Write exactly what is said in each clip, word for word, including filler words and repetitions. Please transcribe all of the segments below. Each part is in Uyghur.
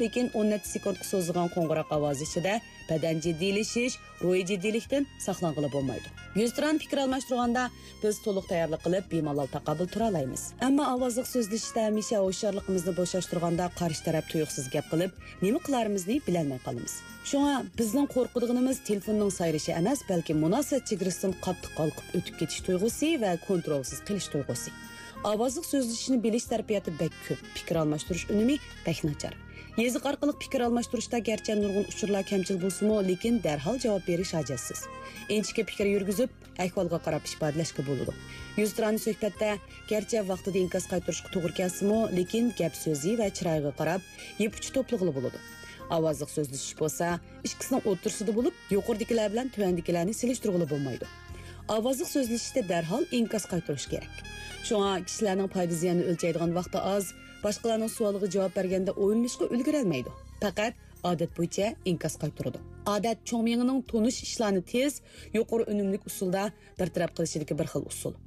لېكىن ئون نەچچە سېكۇنتقا سوزۇلغان قوڭغۇراق ئاۋازى ئىچىدە بەدەن جىددىيلىشىش، روھىي جىددىيلىكتىن ساقلانغىلى بولمايدۇ. يۈزتۇرانە پىكىر ئالماشتۇرغاندا، بىز تولۇق تەييارلىق قىلىپ، بىمالال تاقابىل تۇرالايمىز. ئەمما ئاۋازلىق سۆزلىشىشتە ھەمىشە ھوشيارلىقىمىزنى بوشاشتۇرغاندا، قارشى تەرەپ تۇيۇقسىز گەپ قىلىپ، نېمە قىلارىمىزنى بىلەلمەي قالىمىز. شۇڭا بىزنىڭ قورقىدىغىنىمىز تېلېفوننىڭ سايرىشى ئەمەس، بەلكى مۇناسىۋەت چېگرىسىدىن قاتتىق ھالقىپ ئۆتۈپ كېتىش تۇيغۇسى ۋە كونترولسىز قېلىش تۇيغۇسى. ئاۋازلىق سۆزلىشىشنى بىلىش تەرىپىياتى بەك كۆپ، پىكىر ئالماشتۇرۇش ئۈنۈمى بەك ناچار. يېزىق ئارقىلىق پىكىر ئالماشتۇرۇشتا گەرچە نۇرغۇن ئۇچۇرلار كەمچىل بولسىمۇ، لېكىن دەرھال جاۋاب بېرىش ھاجەتسىز. ئىنچىكە پىكىر يۈرگۈزۈپ، ئەھۋالغا قاراپ ئىپادىلەشكە بولىدۇ. يۈزتۇرانە سۆھبەتتە گەرچە ۋاقتىدا ئىنكاس قايتۇرۇشقا توغرا كەلسىمۇ، لېكىن گەپ سۆزى ۋە چىرايىغا قاراپ يىپ ئۇچى توپلىغىلى بولىدۇ. ئاۋازلىق سۆزلىشىش بولسا ئىككىسىنىڭ ئوتتۇرىسىدا بولۇپ، يۇقىرىدىكىلەر بىلەن تۆۋەندىكىلەرنى سېلىشتۇرغىلى بولمايدۇ. ئاۋازلىق سۆزلىشىشتە دەرھال ئىنكاس قايتۇرۇش كېرەك. شۇڭا كىشىلەرنىڭ پايدا زىيانىنى ئۆلچەيدىغان ۋاقتى ئاز، باشقىلارنىڭ سوئالىغا جاۋاب بەرگەندە ئويلىنىشقا ئۈلگۈرەلمەيدۇ. پەقەت ئادەت بويىچە ئىنكاس قايتۇرىدۇ. ئادەت چوڭ مېڭىنىڭ تونۇش ئىشلارنى تېز، يۇقىرى ئۈنۈملۈك ئۇسۇلدا بىر تەرەپ قىلىشىدىكى بىر خىل ئۇسۇل.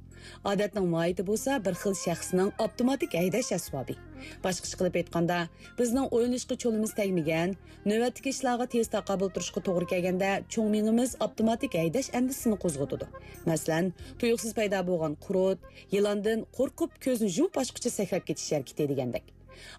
ئادەتنىڭ ماھىيىتى بولسا بىر خىل شەخسنىڭ ئاپتوماتىك ھەيدەش ئەسۋابى. باشقىچە قىلىپ ئېيتقاندا، بىزنىڭ ئويلىنىشقا چولىمىز تەگمىگەن، نۆۋەتتىكى ئىشلارغا تېز تاقابىل تۇرۇشقا توغرا كەلگەندە، چوڭ مېڭىمىز ئاپتوماتىك ھەيدەش ئەندىزىسىنى قوزغىتىدۇ. مەسىلەن، تۇيۇقسىز پەيدا بولغان قۇرت، يىلاندىن قورقۇپ كۆزنى يۇمۇپ ئاچقۇچە سەكرەپ كېتىش ھەرىكىتى دېگەندەك.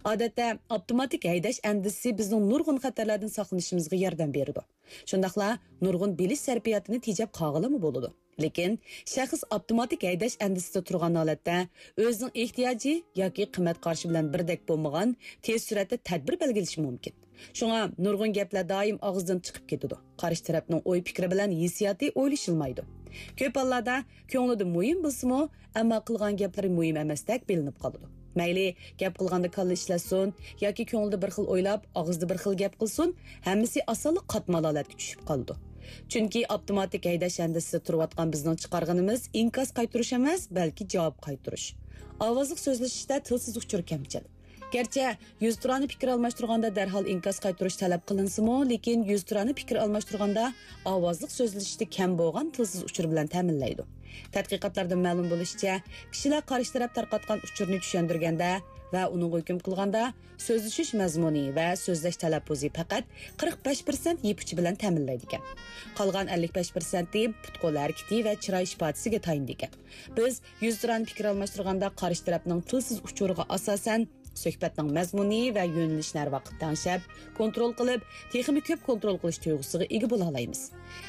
ئادەتتە ئاپتوماتىك ھەيدەش ئەندىزىسى بىزنىڭ نۇرغۇن خەتەرلەردىن ساقلىنىشىمىزغا ياردەم بېرىدۇ. شۇنداقلا نۇرغۇن بىلىش سەرپىياتىنى تېجەپ قالغىلىمۇ بولىدۇ. لېكىن شەخس ئاپتوماتىك ھەيدەش ئەندىزىسىدە تۇرغان ھالەتتە ئۆزىنىڭ ئېھتىياجى ياكى قىممەت قارىشى بىلەن بىردەك بولمىغان، تېز سۈرئەتتە تەدبىر بەلگىلىشى مۇمكىن. شۇڭا نۇرغۇن گەپلەر دائىم ئاغزىدىن چىقىپ كېتىدۇ. قارشى تەرەپنىڭ ئوي پىكرى بىلەن ھېسسىياتى ئويلىشىلمايدۇ. كۆپ ھاللاردا كۆڭلىدە مۇھىم بولسىمۇ، ئەمما قىلغان گەپلىرى مۇھىم ئەمەستەك بىلىنىپ قالىدۇ. مەيلى، گەپ قىلغاندا كاللا ئىشلەتسۇن ياكى كۆڭلىدە بىر خىل ئويلاپ، ئاغزىدا بىر خىل گەپ قىلسۇن، ھەممىسى ئاسانلا قاتمال ھالەتكە چۈشۈپ قالىدۇ. چۈنكى ئاپتوماتىك ھەيدەش ھەندىسىسىدە تۇرۇۋاتقان بىزنىڭ چىقارغىنىمىز ئىنكاس قايتۇرۇش ئەمەس، بەلكى جاۋاب قايتۇرۇش. ئاۋازلىق سۆزلىشىشتە تىلسىز ئۇچۇر كەمچىل. گەرچە يۈزتۇرانە پىكىر ئالماشتۇرغاندا دەرھال ئىنكاس قايتۇرۇش تەلەپ قىلىنسىمۇ، لېكىن يۈزتۇرانە پىكىر ئالماشتۇرغاندا ئاۋازلىق سۆزلىشىشتە كەم بولغان تىلسىز ئۇچۇر بىلەن تەمىنلەيدۇ. تەتقىقاتلاردىن مەلۇم بولۇشىچە، كىشىلەر قارشى تەرەپ تارقاتقان ئۇچۇرنى چۈشەندۈرگەندە ۋە ئۇنىڭغا ھۆكۈم قىلغاندا، سۆزلىشىش مەزمۇنى ۋە سۆزلەش تەلەپپۇزى پەقەت قىرىق بەش پىرسەنت يىپ ئۇچى بىلەن تەمىنلەيدىكەن. قالغان ئەللىك بەش پىرسەنتى پۇت-قول ھەرىكىتى ۋە چىراي ئىپادىسىگە تايىنىدىكەن. بىز يۈزتۇرانە پىكىر ئالماشتۇرغاندا قارشى تەرەپنىڭ تىلسىز ئۇچۇرىغا ئاساسەن، سۆھبەتنىڭ مەزمۇنى ۋە يۆنىلىشىنى ھەر ۋاقىت تەڭشەپ، كونترول قىلىپ، تېخىمۇ كۆپ كونترول قىلىش تۇيغۇسىغا ئىگە بولالايمىز.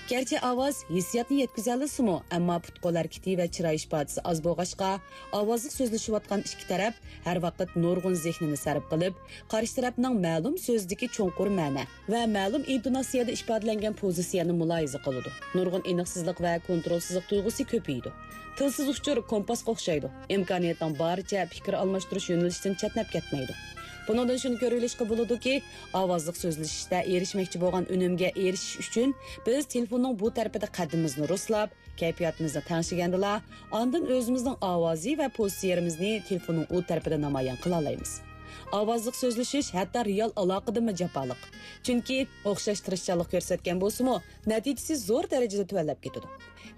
گەرچە ئاۋاز ھېسسىياتنى يەتكۈزەلىسىمۇ، ئەمما پۇت-قول ھەرىكىتى ۋە چىراي ئىپادىسى ئاز بولغاچقا، ئاۋازلىق سۆزلىشىۋاتقان ئىككى تەرەپ ھەر ۋاقىت نۇرغۇن زېھنىنى سەرپ قىلىپ، قارشى تەرەپنىڭ مەلۇم سۆزىدىكى چوڭقۇر مەنە ۋە مەلۇم ئىنتوناتسىيەدە ئىپادىلەنگەن پوزىتسىيەنى مۇلاھىزە قىلىدۇ. نۇرغۇن ئېنىقسىزلىق ۋە كونترولسىزلىق تۇيغۇسى كۆپىيىدۇ. تىلسىز ئۇچۇر كومپاسقا ئوخشايدۇ. ئىمكانىيەتنىڭ بارىچە پىكىر ئالماشتۇرۇش يۆنىلىشىدىن چەتنەپ كەتمەيدۇ. بۇنىڭدىن شۇنى كۆرۈۋېلىشقا بولىدۇكى، ئاۋازلىق سۆزلىشىشتە ئېرىشمەكچى بولغان ئۈنۈمگە ئېرىشىش ئۈچۈن بىز تېلېفوننىڭ بۇ تەرىپىدە قەددىمىزنى رۇسلاپ، كەيپىياتىمىزنى تەڭشىگەندىلا، ئاندىن ئۆزىمىزنىڭ ئاۋازى ۋە پوزىتسىيەمىزنى تېلېفوننىڭ ئۇ تەرىپىدە نامايان قىلالايمىز. ئاۋازلىق سۆزلىشىش ھەتتا رېئال ئالاقىدىنمۇ جاپالىق. چۈنكى ئوخشاش تىرىشچانلىق كۆرسەتكەن بولسىمۇ، نەتىجىسى زور دەرىجىدە تۆۋەنلەپ كېتىدۇ.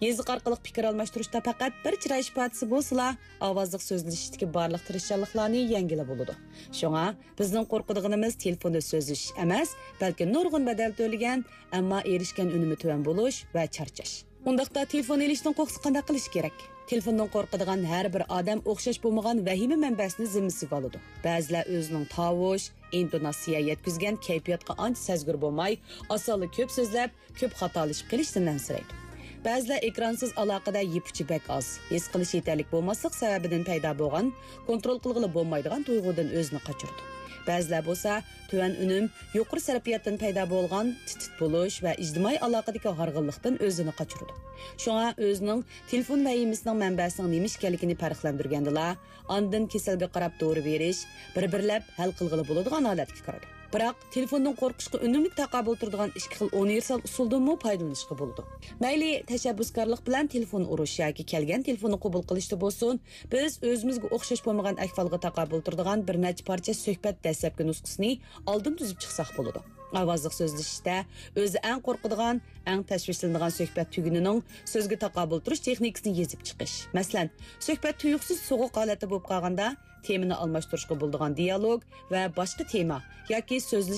يېزىق ئارقىلىق پىكىر ئالماشتۇرۇشتا پەقەت بىر چىراي ئىپادىسى بولسىلا، ئاۋازلىق سۆزلىشىشتىكى بارلىق تىرىشچانلىقلارنى يەڭگىلى بولىدۇ. شۇڭا بىزنىڭ قورقىدىغىنىمىز تېلېفوندا سۆزلىشىش ئەمەس، بەلكى نۇرغۇن بەدەل تۆلىگەن، ئەمما ئېرىشكەن ئۈنۈمى تۆۋەن بولۇش ۋە چارچاش. ئۇنداقتا تېلېفون ئېلىشتىن قورقسا قانداق قىلىش كېرەك؟ تېلېفوندىن قورقىدىغان ھەر بىر ئادەم ئوخشاش بولمىغان ۋەھىمە مەنبەسىنى زىممىسىگە ئالىدۇ. بەزىلەر ئۆزىنىڭ تاۋۇش، ئىنتوناتسىيە يەتكۈزگەن كەيپىياتقا ئانچە سەزگۈر بولماي، ئاسانلا كۆپ سۆزلەپ، كۆپ خاتالىشىپ قېلىشتىن ئەنسىرەيدۇ. بەزىلەر ئېكرانسىز ئالاقىدە يىپ ئۇچى بەك ئاز، ھېس قىلىش يېتەرلىك بولماسلىق سەۋەبىدىن پەيدا بولغان، كونترول قىلغىلى بولمايدىغان تۇيغۇدىن ئۆزىنى قاچۇرىدۇ. بەزىلەر بولسا تۆۋەن ئۈنۈم، يۇقىرى سەرپىياتتىن پەيدا بولغان تىت-تىت بولۇش ۋە ئىجتىمائىي ئالاقىدىكى ھارغىنلىقتىن ئۆزىنى قاچۇرىدۇ. شۇڭا ئۆزىنىڭ تېلېفون ۋەھىمىسىنىڭ مەنبەسىنىڭ نېمە ئىكەنلىكىنى پەرقلەندۈرگەندىلا، ئاندىن كېسەلگە قاراپ دورا بېرىش، بىر-بىرلەپ ھەل قىلغىلى بولىدىغان ھالەتكە كىرىدۇ. بىراق، تېلېفوندىن قورقۇشقا ئۈنۈملۈك تاقابىل تۇرىدىغان ئىككى خىل ئۇنىۋېرسال ئۇسۇلدىنمۇ پايدىلىنىشقا بولىدۇ. مەيلى، تەشەببۇسكارلىق بىلەن تېلېفون ئۇرۇش ياكى كەلگەن تېلېفوننى قوبۇل قىلىشتا بولسۇن، بىز ئۆزىمىزگە ئوخشاش بولمىغان ئەھۋالغا تاقابىل تۇرىدىغان بىر نەچچە پارچە سۆھبەت دەسلەپكى نۇسخىسىنى ئالدىن تۈزۈپ چىقساق بولىدۇ. ئاۋازلىق سۆزلىشىشتە ئۆزى ئەڭ قورقىدىغان، ئەڭ تەشۋىشلىنىدىغان سۆھبەت تۈگۈنىنىڭ سۆزگە تاقابىل تۇرۇش تېخنىكىسىنى يېزىپ چىقىش. مەسىلەن، سۆھبەت تۇيۇقسىز سوغۇق ھالەتتە بولۇپ قالغاندا، تېمىنى ئالماشتۇرۇشقا بولىدىغان دىيالوگ ۋە باشقا تېما ياكى سۆزلىشىش